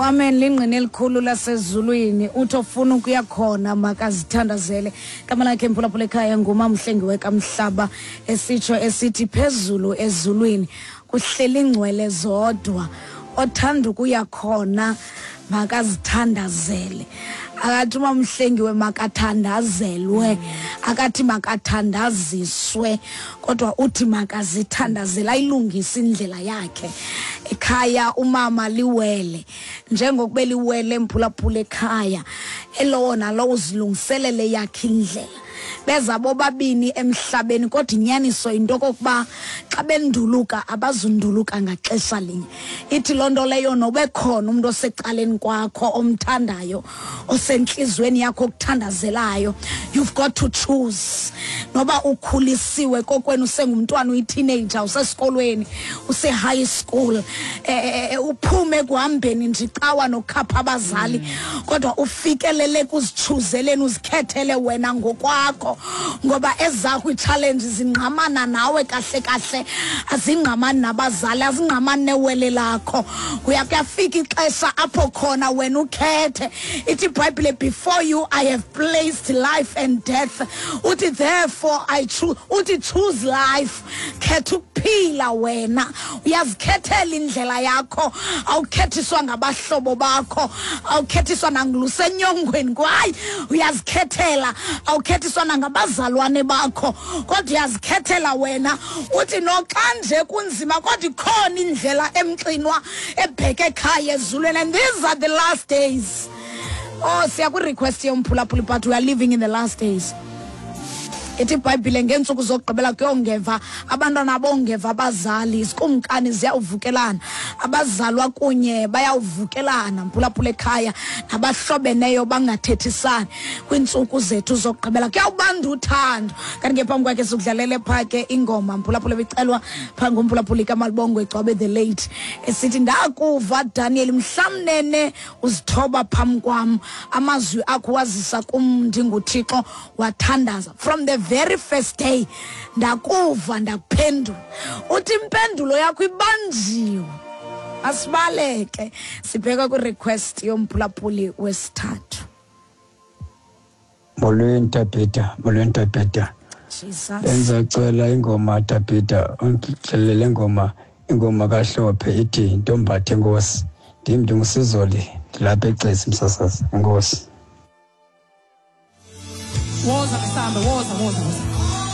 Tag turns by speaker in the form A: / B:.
A: Amen lingqina elikhulu lasezulwini uthi ofuna ukuya khona makazithandazele. Igama lakhe mphulaphula ekhaya ngumamhlengiwe kamhlaba esitsho esithi phezulu ezulwini kuhleli ingcwele zodwa othanda ukuya khona makazithandazele akathi umamhlengiwe makathandazelwe akathi makathandaziswe kodwa uthi makazithandazele ayilungise indlela yakhe ekhaya umama liwele njengokuba eliwele mphulaphula ekhaya elowo nalowo uzilungiselele yakhe indlela beza bobabini emhlabeni kodwa inyaniso yinto okokuba xa benduluka abazunduluka ngaxesha linye ithi loo nto leyo nobekhona umntu osecaleni kwakho omthandayo osentliziyweni yakho okuthandazelayo you've got to choose noba ukhulisiwe kokwenu usengumntwana uyiteenager usesikolweni use-high school eh, uphume ekuhambeni nje icawa nokukhapha abazali kodwa ufikelele kuzitshuzeleni uzikhethele wena ngokwakho ngoba ezakho ii-challenge zingqamana nawe kahle kahle azingqamani nabazali azingqamani newele lakho kuya kuyafika ixesha apho khona wena ukhethe ithi ibhayibhile before you i have placed life and death uthi therefore i choose uthi choose life khetha ukuphila wena uyazikhethela indlela yakho awukhethiswa ngabahlobo bakho awukhethiswa nangulusenyongweni kwaye uyazikhethela awukhethiswa nangabazalwane bakho kodwa uyazikhethela wena uthi noxa nje kunzima kodwa ikhona indlela emxinwa ebheke ekhaya ezulwini and these are the last days oh siya kwi-request yomphulaphuli but we are living in the last days ithi ibhayibhile ngeentsuku zokugqibela kuyongeva abantwana bongeva abazali izikumkani ziyawuvukelana abazalwa kunye bayawuvukelana mphulaphula ekhaya nabahlobeneyo bangathethisani kwiintsuku zethu zokugqibela kuyawubanda uthando kanti ke phambi kwakhe sikudlalele phaa ke ingoma mphulaphula ebicelwa phaa ngumphulaphuli kamalibongo egcwabe the late esithi ndakuva daniel mhlamnene uzithoba phambi kwam amazwi akho wazisa kum ndinguthixo wathandaza from the very first day ndakuva ndakuphendula uthi impendulo yakho ibanjiwe asibaleke sibheka kwirequest yomphulaphuli wesithathu
B: Molweni Tabhita, molweni Tabhita.
A: Jesus.
B: Benzacela ingoma Tabhita, undixelele ingoma, ingoma kaHlophe ithi Ntombathe Nkosi. Ndim ndingusizoli ndilapha eXesi msasazi. Enkosi.
C: Woza msambe, woza, woza, woza.